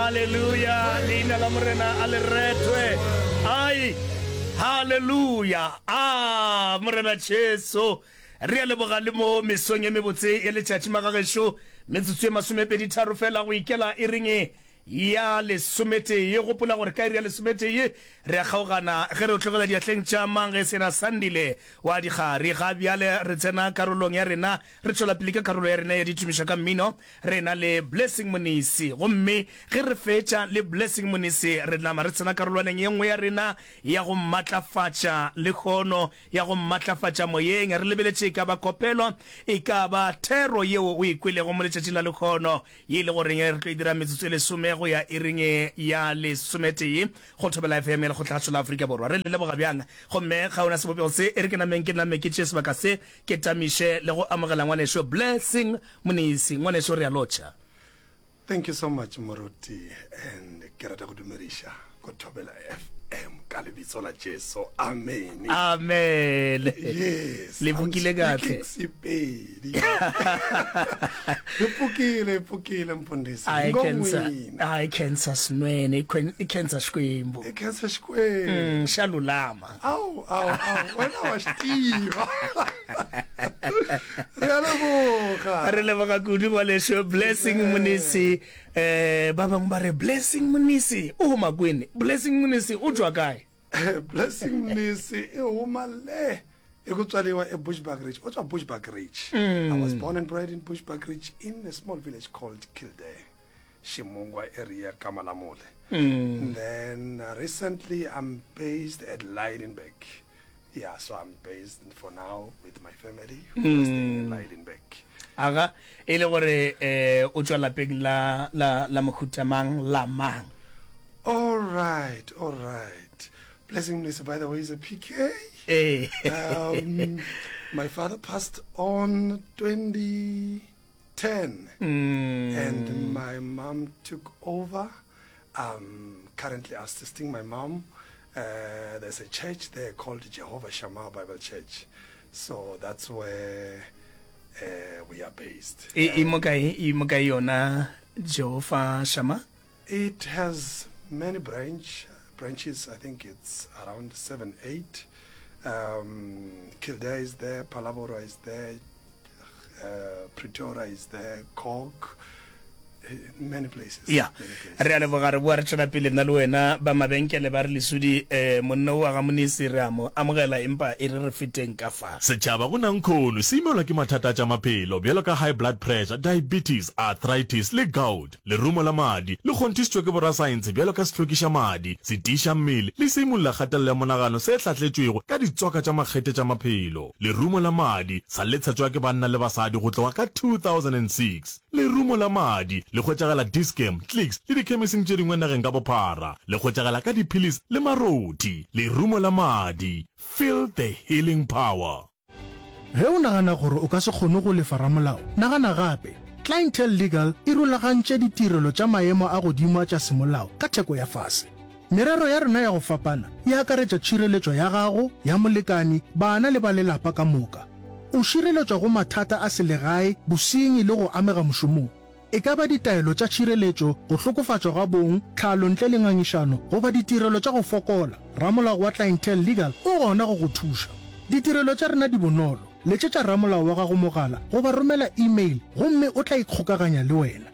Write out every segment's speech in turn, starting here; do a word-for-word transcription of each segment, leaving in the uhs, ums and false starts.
Haleluya, leina la Morena a le retwe. Ai, haleluya. A Morena Jesu, re a leboga le mo mesong e mebotse ya letšatši magagešo, metsotso e masomepedi tharo fela go ikela e reng ya lesometee. Gopola gore ka iri ya lesometee re a kgaogana ge re o tlogela diatleng tša mang ge sena Sandile wa dikgari. Ga bjale re tsena karolong ya rena, re tšwela pele ka karolo ya rena ya ditumišo ka mmino, re na le Blessing Monisi. Gomme ge re fetša le Blessing Monisi, re nama re tsena karolwaneng ye nngwe ya rena ya go matlafatša lehono, ya go matlafatša moyeng. Re lebeletše e ka ba kopelo, e ka ba thero yeo o e kwelego mo letšatšing la lehono, ye e le goreng re tlo e dira metsotso e lesome go ya iring ya lesometee go Thobela F M ya Lekgotlagatšo la Afrika Borwa. Re le leboga bjang. Gomme ga ona sebopego se, e re ke nameng ke name ke tšee sebaka se ke tamiše le go amogela ngwanešo Blessing Monisi. Ngwanešo, re a lotšha. Thank you so much, Moruti, and ke rata go dumediša ko Thobela F M ka lebitso la Jesu. Amen. Amen. Yes. Le bokile kahle. Sepedi. Le pukile, pukile mfundisi. I cancer. I cancer snwene, i cancer xikwembu. I cancer xikwembu. Mm, xa lulama. Au, au, au. Wena wa xitiva. Re a leboga. Re leboga kudu ngwaneso Blessing Monisi. Eh, ba bangwe ba re Blessing Monisi o huma kwini? Blessing Monisi o tšwa kae? Blessing Monisi e huma le e ku tswaliwa e Bushbuckridge. O tswa Bushbuckridge. Mm. I was born and bred in Bushbuckridge in a small village called Kildare, Shimungwa area, Kamalamule. Mm. And then uh, recently I'm based at Lydenburg. Yeah, so I'm based for now with my family who mm. are staying in Lydenburg. Aga, e le gore eh o tswa lapeng la la la mohuta mang la mang? All right, all right. Blessing Mnisi, by the way, is a P K. Eh. Um, my father passed on twenty ten. Mm. And my mom took over. I'm currently assisting my mom. Uh, there's a church there called Jehovah Shammah Bible Church. So that's where uh, we are based. E, e mo kae, e mo kae yona Jehovah Shammah? It has many branch, branches. I think it's around seven, eight. Um, Kildare is there, Phalaborwa is there, uh, Pretoria is there, Cork, many places. Ya, re a leboga, re boa re tšwela pele nna le wena. Ba mabenkele ba re Lesodi, eh, monna o wa ga Monisi re a mo amogela, empa e re re feteng ka fa. Setšhaba go nankhono se imelwa ke mathata a tša maphelo bjalo ka high blood pressure, diabetes, arthritis le gout. Lerumo la madi le kgonthišitšwe ke borasaense bjalo ka sehlwekiša madi, setiiša mmele le seimolla kgatelelo ya monagano se hlahletšwego ka ditswaka tša makgethe tša maphelo. Lerumo la madi sa le tshetšwa ke banna le basadi go tloga ka two thousand and six. Lerumo la madi le hwetšagala Dis-Chem, Clicks le dikhemising tše dingwe nageng ka bophara. Le hwetšagala ka diphilisi le marothi. Lerumo la madi, feel the healing power. Ge o nagana gore o ka se kgone go lefa ramolao, nagana gape. Clientele Legal e rulagantše ditirelo tša maemo a godimo tša semolao ka theko ya fase. Merero ya rena ya go fapana e akaretša tšhireletšo ya gago, ya molekani, bana le ba lelapa ka moka. O šireletšwa go mathata a selegae, bosenyi le go amega mošomong. E ka ba ditaelo tša tšhireletšo, go hlokofatšwa ga bong, tlhalo ntle le ngangišano, goba ditirelo tša go fokola, ramolao wa Clientele Legal o gona go go thuša. Ditirelo tša rena di bonolo. Letšetša ramolao wa gago mogala goba romela email gomme o tla ikgokaganya le wena.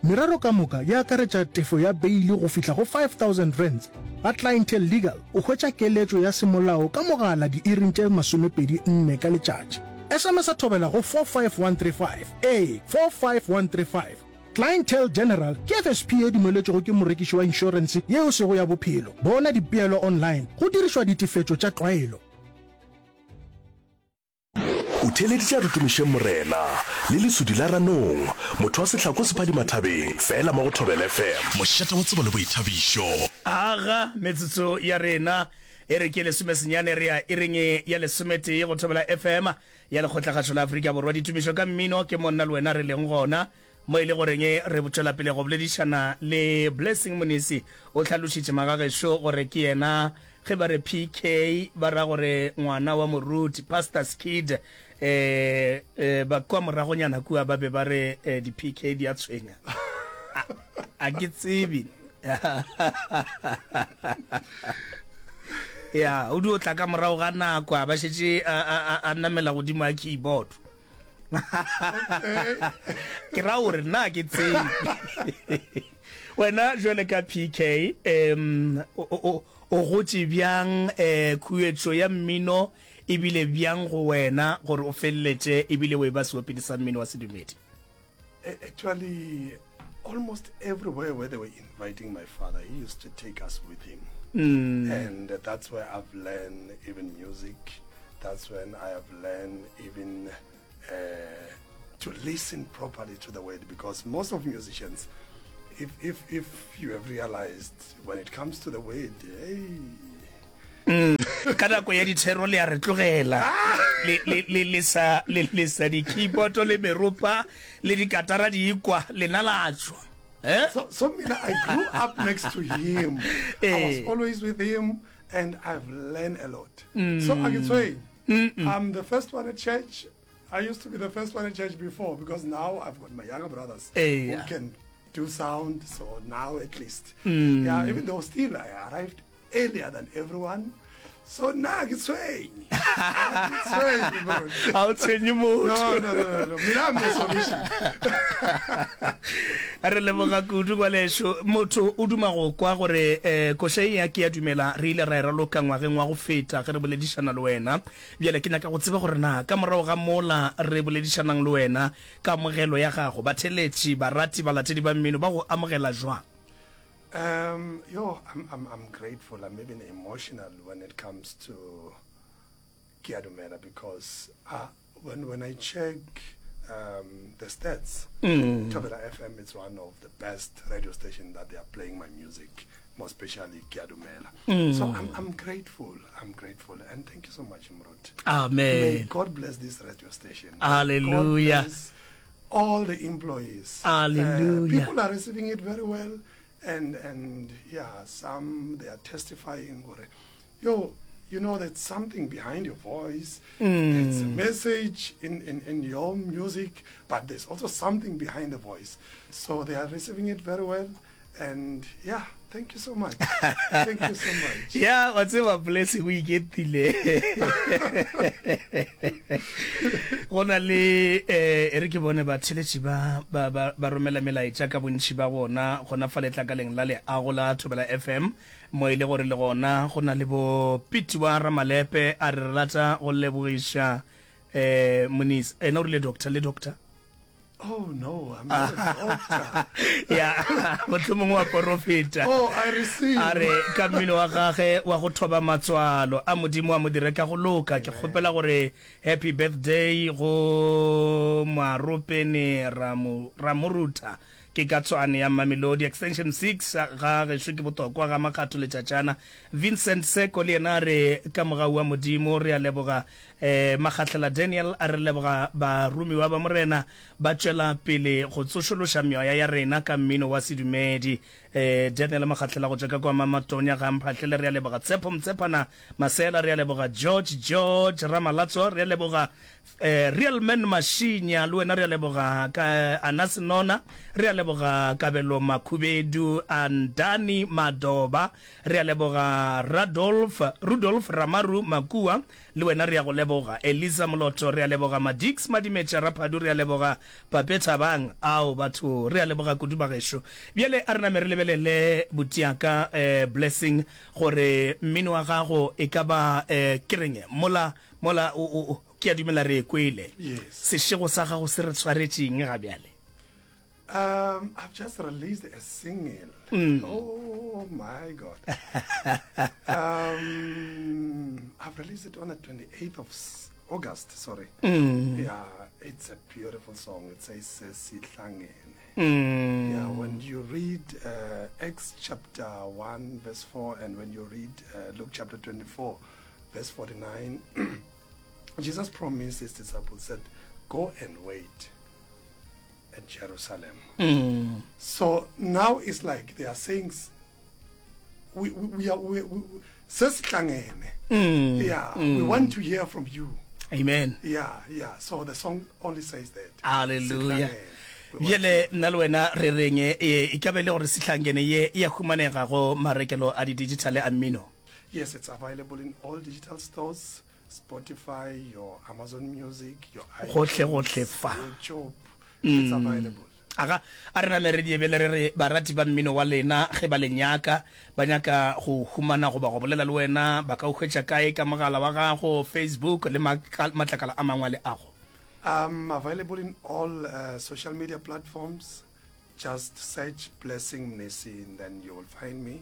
Merero ka moka e akaretša tefo ya beili go fihla go five thousand rands. Ga Clientele Legal o hwetša keletšo ya semolao ka mogala diiring tše masomepedi nne ka letšatši. S M S a thobela go four five one three five, ee, four five one three five. Clientele General ke F S P e dumeletšwego ke morekiši wa inšorense yeo sego ya bophelo. Bona dipeelo online go dirišwa ditefetšo tša tlwaelo. O theeleditše a re tumišeng Morena, le lesudi la ranong, motho wa sehlako se phadima thabeng, fela mo go Thobela F M. Mošate wa tsebo le boithabišo. Aga metsotso ya rena e re ke lesomesenyane re ya iring ya lesometee go Thobela F M ya Lekgotlakgašo la Afrika Borwa. Ditumišo ka mmino ke mo nna le wena re leng gona, mo e le goreng re tšwela pele go boledišana le Blessing Monisi. O hlalošitše magagešo gore ke yena ge ba re P K ba ra gore ngwana wa moruti, pastor's kid. Eh, eh, ba kwa moragonyana kua ba be ba re, eh, di P K di a tshwenya. A ke tsebe. Ya, o dio tla ka morago ga nako a ba šetše a, a, a, a namela godimo a keyboard. Ke ra gore nna ke tsebe. Wena jwale ka P K, um o, o, o gotše bjang, eh, khuetšo ya mmino e bile bjang go wena gore o feleletše ebile o eba seopedi sa mmino wa sedumedi? Actually, almost everywhere where they were inviting my father, he used to take us with him. Mm. And that's where I've learned even music. That's when I have learned even uh, to listen properly to the word, because most of musicians, if, if, if you have realized, when it comes to the word, hey, mm. Ka nako ya dithero le a re tlogela le le le le sa le le sa di-keyboard le meropa le dikatara di ikwa lena la tšwa, eh? So, so mina, I grew up next to him. I was always with him, and I've learned a lot. Mm. So I can say, I'm the first one at church. I used to be the first one at church before, because now I've got my younger brothers hey, who can do sound. So now at least, mm. yeah, even though still I arrived earlier than everyone. So now ke tshwenye. Ga o tshwenye motho. No, no, no, no. Mina, I'm the solution. Re leboga kudu ngwanešu. Motho o duma go kwa gore um koša ye ya Ke a Dumela re ile ra e raloka ngwageng wa go feta ge re boledišana le wena. Bjale ke nyaka go tseba gore na ka morago ga mola re boledišanang le wena, kamogelo ya gago, batheeletši, barati, balatedi ba mmino ba go amogela jwang? Um, yo, I'm, I'm, I'm grateful. I'm even emotional when it comes to Ke a Dumela, because uh, when, when I check um, the stats, mm. Thobela F M is one of the best radio stations that they are playing my music, more especially Ke a Dumela. Mm. So I'm, I'm grateful. I'm grateful. And thank you so much, Mrut. Amen. May God bless this radio station. Hallelujah. God bless all the employees. Hallelujah. Uh, people are receiving it very well. And, and yeah, some, they are testifying, gore, yo, you know, there's something behind your voice. Mm. There's a message in, in, in your music, but there's also something behind the voice. So they are receiving it very well. And yeah, thank you so much. Thank you so much. Ya, wa tseba, Blessing o iketile. Go na le eh e re ke bone batheletši ba ba ba ba romela melaetša ka bontši ba bona gona fa letlakaleng la leago la Thobela F M, mo e le gore le gona go na le bo Piti wa Ramalepe a re re rata go lebogiša eh Monisa, ena o rile doctor le doctor. Oh no, I'm not a doctor. Ya, mohlomongwe wa porofeta. Oh, I receive. A re ka mmino wa gage wa go thoba matswalo a Modimo a mo dire ka go loka. Ke kgopela gore happy birthday go Moaropene Ramorutha. Ke ka Tshwane ya Mamelodi Extension six ga gešo ke botokwa ga Makgatho Letšatšana. Vincent Seko le yena a re ka mogau wa Modimo re a leboga. eh, Magahlela Daniel a re leboga baromiwa ba Morena ba tšwela pele go tsošološa meoya ya rena ka mmino wa sedumedi. Eh, Daniel Magahlela go tšwa ka kwa Mamatonya ga Mphahlele re a leboga. Tshepo Mtshepana Masela re a leboga. George George Ramalatso re a leboga. Eh, Real Man Mashinya le wena re a leboga. Ka Anas Nona re a leboga. Kabelo Makhubedu Andani Madoba re a leboga. Radolf Rudolf Ramaru Makua le wena re a go leboga. Eliza Moloto re a leboga. Madix Madimetša Raphadu re a leboga. Pape Thabang ao batho re a leboga kudu bagešo. Bjale a re name re lebelele botiaka eh, Blessing gore mmino wa gago e ka ba eh, ke reng mola mola o, o, ke a dumela re e kwele. Yes. Sešego sa gago se re tshwaretšeng ga bjale? Um, I've just released a single. Mm. Oh my God. um, I've released it on the twenty-eighth of August, sorry. Mm. Yeah, it's a beautiful song. It says Sesihlangene. Mm. Yeah, when you read uh, Acts chapter one, verse four, and when you read uh, Luke chapter twenty-four, verse forty-nine, Jesus promised his disciples, said, go and wait at Jerusalem. Mm. So now it's like they are saying, we, we, we are, we, we, sesihlangene. Mm. Yeah, mm. we want to hear from you. Amen. Yeah, yeah. So the song only says that. Hallelujah. Sihlangene. Bjale nna le wena re reng e, e ka be e le gore Sihlangene ye e a humanega go marekelo a di-digital a mmino? Yes, it's available in all digital stores, Spotify, your Amazon Music, your Gohle iTunes, gohle fa. YouTube, it's available. Aga, a re name re die bjale re re barati ba mmino wa lena ge ba le nyaka, ba nyaka go humana goba go bolela le wena, ba ka o hwetša kae ka mogala wa gago, Facebook le matlakala a mangwe a leago? I'm available in all uh, social media platforms. Just search Blessing Mnisi and then you will find me.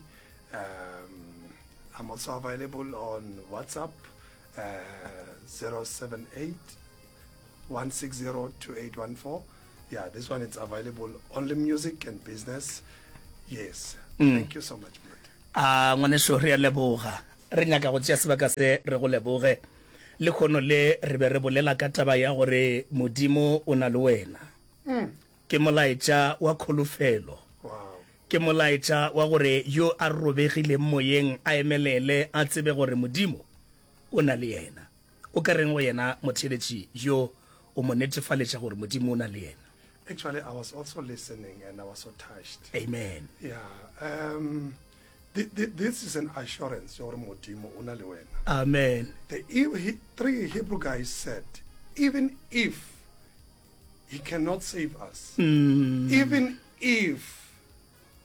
Um, I'm also available on WhatsApp, uh, zero seven eight, one six zero, two eight one four. Yeah, this one it's available only music and business. Yes. Mm. Thank you so much, Mruti. A ngwaneso re a leboga. Re nyaka go tšea sebaka se re go leboge. Lehono le re be re bolela ka taba ya gore Modimo o na le wena. Mm. Ke molaetša wa kholofelo. Wow. Ke molaetša wa gore yo a robegileng moyeng a emelele a tsebe gore Modimo o na le yena. O ka reng go yena motheeletši yo o mo netefaletša gore Modimo o na le yena? Actually, I was also listening and I was so touched. Amen. Yeah. Um, th-, th-, this is an assurance gore Modimo o na le wena. Amen. The he, three Hebrew guys said, even if he cannot save us, mm. even if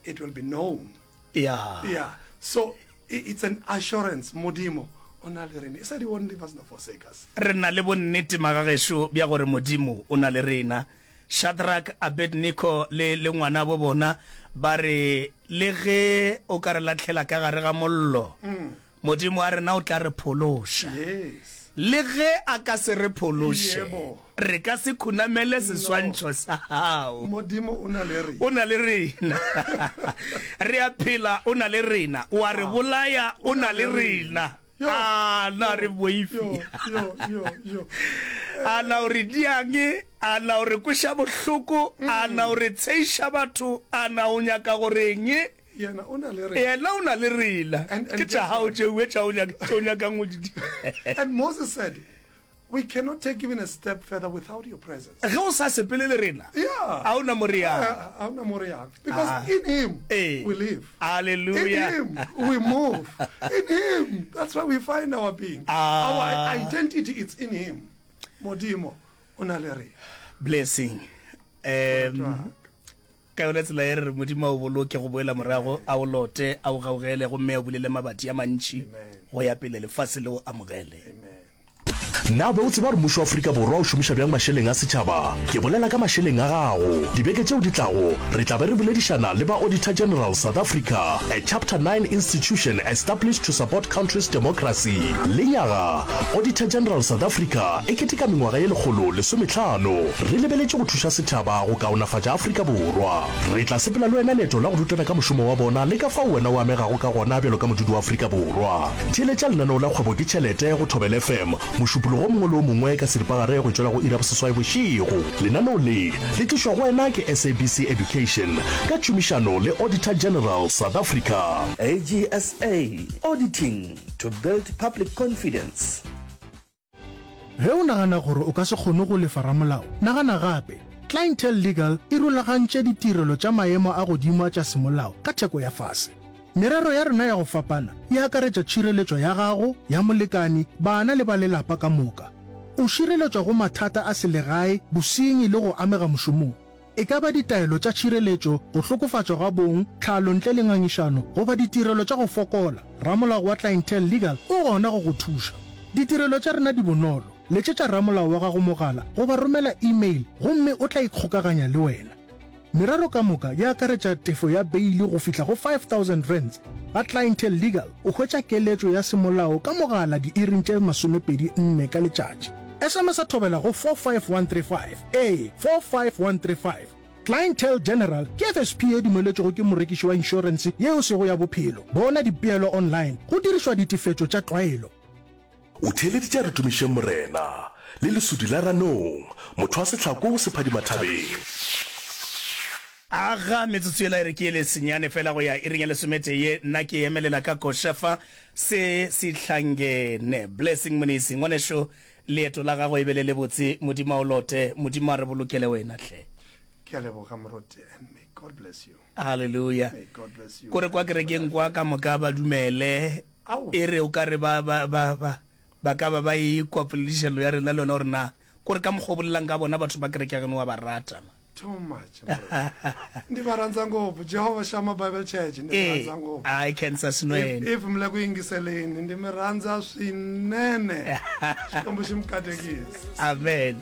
it will be known. Yeah. Yeah. So it's an assurance, Modimo o na le rena. He said he won't leave us nor forsake us. Re na le bonnete magagešo bja gore Modimo o na le rena. Shadrach, Abednego le le ngwana bo bona ba re le ge o ka re lahlela ka gare ga mollo, Mm. Modimo wa rena o tla re phološa. Yes. Le ge a ka se re phološe, Yebo. re ka se khunamele seswantšho sa gago. Modimo o na le rena. O na le rena. Re a phela, o na le rena. O a re bolaya, o na le rena. Yo. A na re boifi. Yo, yo, yo, yo. A na o re diang, a na o re kweša bohloko, a na o re tsheiša batho, a na o nyaka goreng? Yena o na le rena. Yena o na le rena. And, and Ke tša guess gago what? tšeo tša o nyaka, tše o nyakang go di dira. And Moses said, we cannot take even a step further without your presence. Ge o sa sepele le rena, Yeah. a o na mo re yang. Uh, a ona mo re yang. Because Ah. in him Eh. we live. Hallelujah. In him we move. In him, that's where we find our being. Ah. Our identity is in him. Modimo o na le rena. Blessing. Um, ka yona tsela e re re Modimo a o boloke go boela morago, a o lote, a o gaugele, gomme a bulele mabati a mantši go ya pele lefase le o amogele. Amen. Na be o tseba gore mmušo wa Afrika Borwa o šomiša bjang mašeleng a setšhaba? Ke bolela ka mašeleng a gago. Dibeke tšeo di tlago, re tla be re boledišana le ba Auditor General South Africa, a Chapter nine institution established to support country's democracy. Lenyaga, Auditor General South Africa e keteka mengwaga ye lekgolo lesometlhano. Re lebeletše go thuša setšhaba go kaonafatša Afrika Borwa. Re tla sepela le wena leeto la go rutana ka mošomo wa bona le ka fao wena o amegago ka gona bjalo ka modudi wa Afrika Borwa. Theeletša lenaneo la Kgwebo ke Tšhelete go Thobela F M, mošupologo o mongwe le o mongwe ka seripagare go tšwela go iri ya boseswai bošego. Lenaneo le le tlišwa go wena ke S A B C Education ka tšhomišano le Auditor General South Africa. A G S A, Auditing to build public confidence. Ge o nagana gore o ka se kgone go lefa ramolao, nagana gape. Clientele Legal e rulagantše ditirelo tša maemo a godimo a tša semolao ka theko ya fase. Merero ya rena ya go fapana e akaretša tšhireletšo ya gago, ya molekani, bana le ba lelapa ka moka. O šireletšwa go mathata a selegae, bosenyi le go amega mošomong. E ka ba ditaelo tša tšhireletšo, go hlokofatšwa ga bong, tlhalo ntle le ngangišano, goba ditirelo tša go fokola. Ramolao wa Clientele Legal o gona go go thuša. Ditirelo tša rena di bonolo. Letšetša ramolao wa gago mogala goba romela email gomme o tla ikgokaganya le wena. Merero ka moka e akaretša tefo ya beili go fihla go five thousand rands. Ga Clientele Legal o hwetša keletšo ya semolao ka mogala diiring tše masomepedi nne ka letšatši. S M S a thobela go four five one three five. Ee, four five one three five. Clientele General ke F S P e dumeletšwego ke morekiši wa inšorense yeo sego ya bophelo. Bona dipeelo online go dirišwa ditefetšo tša tlwaelo. O theeleditše a re tumišeng Morena le lesudi la ranong, motho wa sehlako se phadima thabeng. Aga metsotso yela e re ke ele senyane fela go ya iring ya lesometee ye, nna ke emelela ka koša fa se sihlangene. Blessing Mnisi, ngwanešo, leeto la gago e be le lebotse. Modimo a o lote, Modimo a re bolokele wena hle. Ke a leboga moruti and may God bless you. Hallelujah. May God bless you. Kore kwa kerekeng kwa ka moka ba dumele. Ao. E re o ka re ba ba ba ba ba ka ba ba e kwa poledišano ya rena le yona gore na kore ka mokgwa o bolelang ka bona batho ba kereke ya geno wa ba rata. Too much. moruti. Ndi va rhandza ngopfu Jehovah Shammah Bible Church ndi va Ee, rhandza ngopfu. ai cancer If, sinwene. if mi le ku yingiseleni ndi mi rhandza swinene. Xikwembu xi mi katekisa. Amen.